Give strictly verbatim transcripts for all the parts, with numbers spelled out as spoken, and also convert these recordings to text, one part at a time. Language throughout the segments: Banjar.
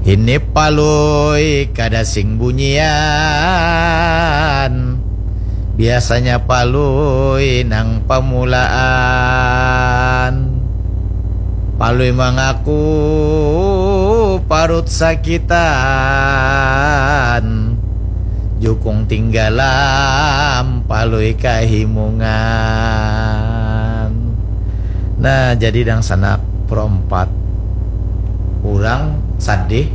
Ini Palui kada sing bunyian. Biasanya Palui nang pamulaan. Palui mangaku parut sakitan. Jukung tinggalam, Palui kahimungan. Nah, jadi dangsanak Pro empat, urang sadih.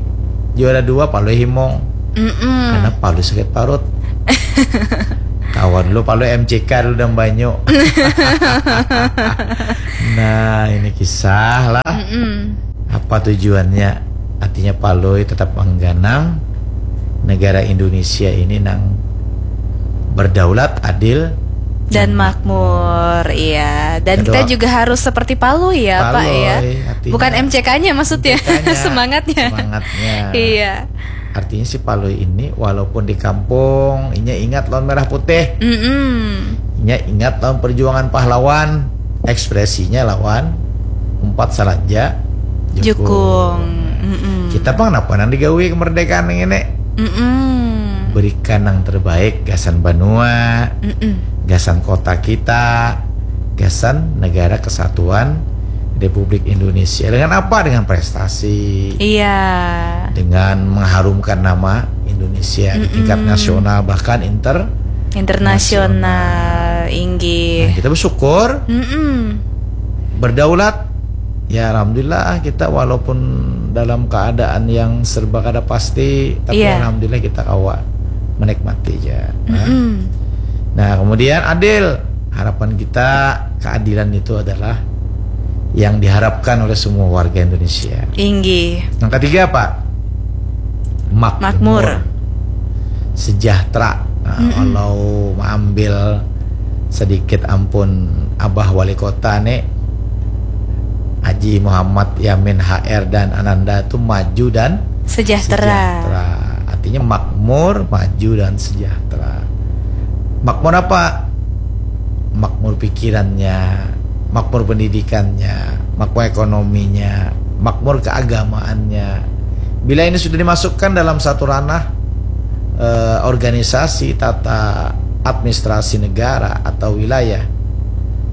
Juara dua Palui himung. Mm-mm. Karena Palui sakit parut. Kawan lu Palui M C K dulu dalam banyu. Nah, ini kisah lah. Mm-mm. Apa tujuannya? Artinya Palui tetap mengganang negara Indonesia ini nang berdaulat, adil, dan makmur, iya. Dan kita Kedua, juga harus seperti Palui ya, Pak, ya. Palui, artinya Bukan M C K-nya maksudnya, M C K-nya, semangatnya. Semangatnya. Iya. Artinya si Palui ini walaupun di kampung, inya ingat lawan merah putih. Mm-mm. Inya ingat lawan perjuangan pahlawan. Ekspresinya lawan umpat salanja jukung. Jukung. Mm-mm. Kita pang napa nang digawi kemerdekaan ini? Mm-mm. Berikan yang terbaik gasan banua, Mm-mm. gasan kota kita, gasan negara kesatuan Republik Indonesia. Dengan apa? Dengan prestasi. Iya. Dengan mengharumkan nama Indonesia di tingkat Mm-mm. nasional, bahkan inter Internasional, inggih. Nah, kita bersyukur Mm-mm. berdaulat. Ya, alhamdulillah, kita walaupun dalam keadaan yang serba kada pasti, tapi Iya. alhamdulillah kita kawa menikmati aja. Nah. Mm-mm. Nah, kemudian adil. Harapan kita, keadilan itu adalah yang diharapkan oleh semua warga Indonesia. Inggih. Yang ketiga apa? Makmur. Makmur. Sejahtera. Nah, Mm-mm. Kalau mengambil sedikit ampun Abah Wali Kota nih, Haji Muhammad Yamin H R dan Ananda tuh maju dan Sejahtera. Sejahtera. Artinya makmur, maju dan sejahtera. Makmur apa? Makmur pikirannya, makmur pendidikannya, makmur ekonominya, makmur keagamaannya. Bila ini sudah dimasukkan dalam satu ranah eh, organisasi tata administrasi negara atau wilayah,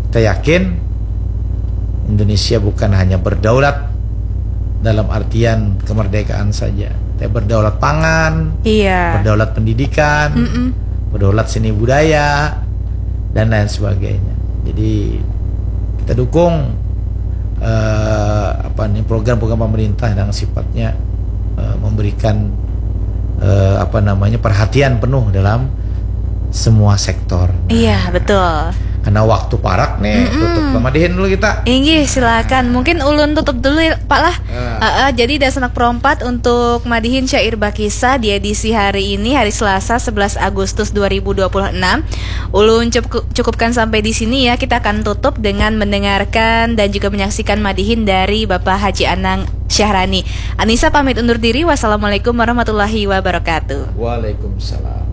kita yakin Indonesia bukan hanya berdaulat dalam artian kemerdekaan saja, tapi berdaulat pangan, Iya. berdaulat pendidikan, Mm-mm. berdaulat seni budaya, dan lain sebagainya. Jadi kita dukung eh, apa nih, program-program pemerintah yang sifatnya eh, memberikan eh, apa namanya, perhatian penuh dalam semua sektor. Iya, betul. Karena waktu parak nih, Mm-mm. tutup, madihin dulu kita. Inggih, silakan. Mungkin ulun tutup dulu ya, Pak lah. Ya. Heeh, jadi Dasanak Perompat untuk madihin syair bakisah di edisi hari ini, hari Selasa sebelas Agustus dua ribu dua puluh enam. Ulun cukup, cukupkan sampai di sini ya. Kita akan tutup dengan mendengarkan dan juga menyaksikan madihin dari Bapak Haji Anang Syahrani. Anissa pamit undur diri. Wassalamualaikum warahmatullahi wabarakatuh. Waalaikumsalam.